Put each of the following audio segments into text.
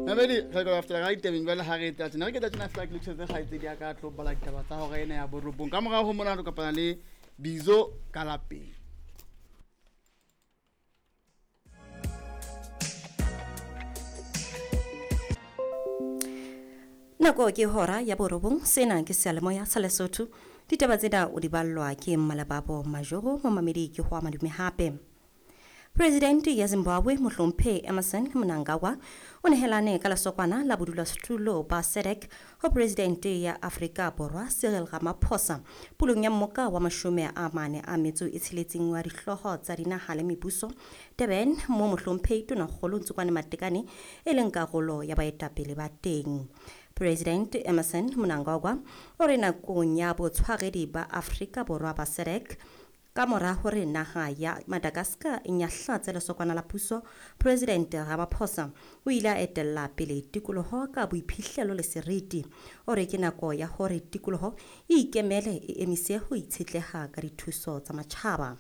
Mamedi, re ka after ga ditabeng jwale ha re etla tjena, re ke tla tjena fela ke lokisetse kgaitsedi ya ka tlo bala ditaba tsa hora ena ya borobong. Ka morao ho mona re kopana le Bizo ka lapeng. Nako ke hora ya borobong, sena ke seyalemoya sa Lesotho. Ditaba tsena o di ballwa ke Mmalebabo Majoro, momamedi ke ho madume hape. Presidente ya Zimbabwe Mohlomphehi Emmerson Mnangagwa o nehelane ka lesokwana la bodulasetulo ba SADC ho Presidente ya Afrika Borwa Cyril Ramaphosa pulong ya mmoka wa 46 wa dihlooho tsa dinaha le mebuso Durban, mo Mohlomphehi Tonakgolo Ntsokwane Matekane e leng karolo ya baetapele ba teng. President Emmerson Mnangagwa o re nakong ya botshwaredi ba Afrika Borwa ba SADC ka mora hore naha ya Madagascar e nyahlatse lesokwana la puso, President Ramaphosa o ile a etella pele tikoloho ka boiphihlelo le seriti. O re ke nako ya hore tikoloho e ikemele, e emise ho itshetleha ka dithuso tsa matjhaba.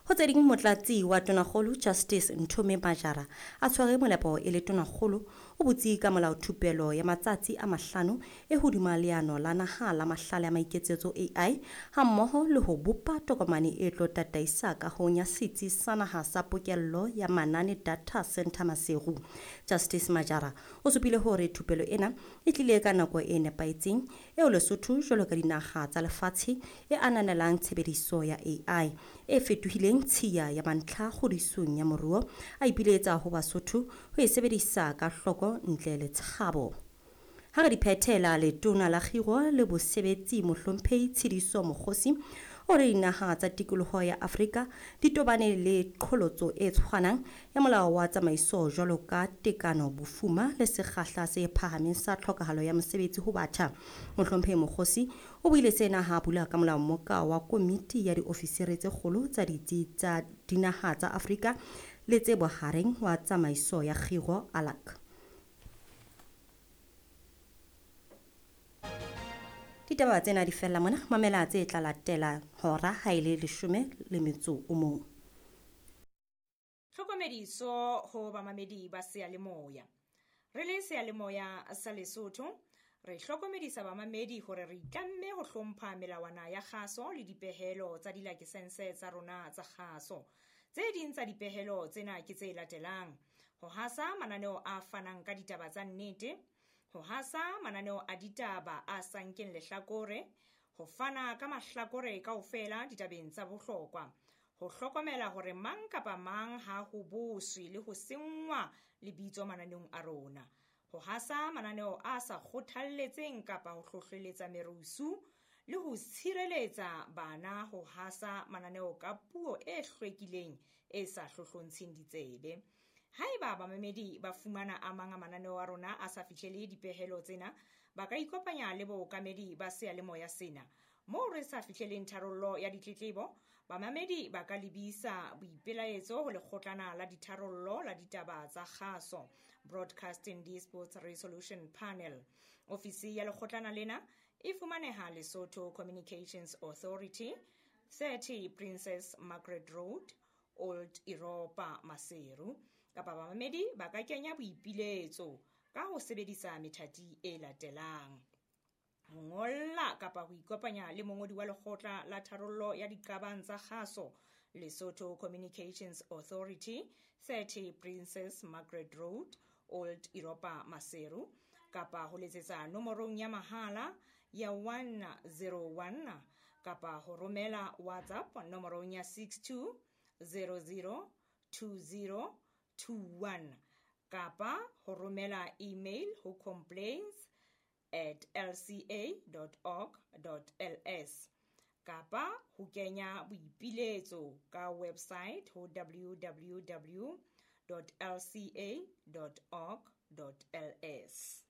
Ho tse ding, motlatsi wa tonakgolo Justice Nthome Majara a tshwere molepo e le tonakgolo o botse ka molaothupelo ya matsatsi a 5 e hodima leano la naha la mahlale a maiketsetso AI hammoho le ho bopa tokomane e tlo tataisa kahong ya setsi sa naha sa pokello ya manane data center Maseru. Justice Majara o supile hore thupelo ena e tlile ka nako e nepahetseng eo Lesotho jwalo ka dinaha tsa lefatshe e ananelang tshebediso ya AI e fetohileng tshiya ya mantlha kgodisong ya moruo, a ipiletsa ho Basotho ho e sebedisa ka hloko ntle le tshabo. Ha re di phethela, letona la kgiro le bosebetsi Mohlomphehi Tshidiso Mokgosi o re dinaha tsa tikoloho ya Afrika di tobane le qholotso e tshwanang ya molao wa tsamaiso jwalo ka tekano, bofuma le sekgahla se phahameng sa tlhokahalo ya mosebetsi ho batjha. Mohlomphehi Mokgosi o buile sena ha bula ka molao mmoka wa komiti ya diofisiri tse kgolo tsa ditsi tsa dinaha tsa Afrika le tse bohareng wa tsamaiso ya kgiro ALAC. Ditaba tsena di fella mona, mamela tse tla latela hora ha e le 11. Tlhokomediso ho bamamedi ba seyalemoya. Re le seyalemoya sa Lesotho, re hlokomedisa bamamedi hore re itlamme ho hlompha melawana ya kgaso le dipehelo tsa dilakesense tsa rona tsa kgaso. Tse ding tsa dipehelo tsena ke tse latelang: ho hasa mananeo a fanang ka ditaba tsa nnete, ho hasa mananeo a ditaba a sa nkeng lehlakore, ho fana ka mahlakore kaofela ditabeng tsa bohlokwa, ho hlokomela hore mang kapa mang ha ho boswe le ho senngwa lebitso mananeong a rona, ho hasa mananeo a sa kgothalletseng kapa ho hlohleletsa merusu, le ho tshireletsa bana ho hasa mananeo ka puo e hlwekileng e sa hlohlontsheng ditsebe. Haeba bamamedi ba fumana a mang a mananeo a rona a sa fihlele dipehelo tsena, ba ka ikopanya le bookamedi ba seyalemoya sena. Moo re sa fihleleng tharollo ya ditletlebo, bamamedi ba ka lebisa boipelaetso ho lekgotlana la ditharollo la ditaba tsa kgaso, Broadcasting Disputes Resolution Panel. Ofisi ya lekgotlana lena e fumaneha Lesotho Communications Authority, 30 Princess Margaret Road, Old Europa, Maseru. Kapa bamamedi ba ka kenya boipiletso ka ho sebedisa methati e latelang: ho ngolla kapa ho ikopanya le mongodi wa lekgotla la tharollo ya diqabang tsa kgaso, Lesotho Communications Authority, 30 Princess Margaret Road, Old Europa, Maseru, kapa ho letsetsa nomorong ya mahala ya 101 kapa ho romela WhatsApp nomorong ya 62 00 20 21 kapa ho romela email ho complaints@lca.org.ls kapa ho kenya boipiletso ka website ho www.lca.org.ls.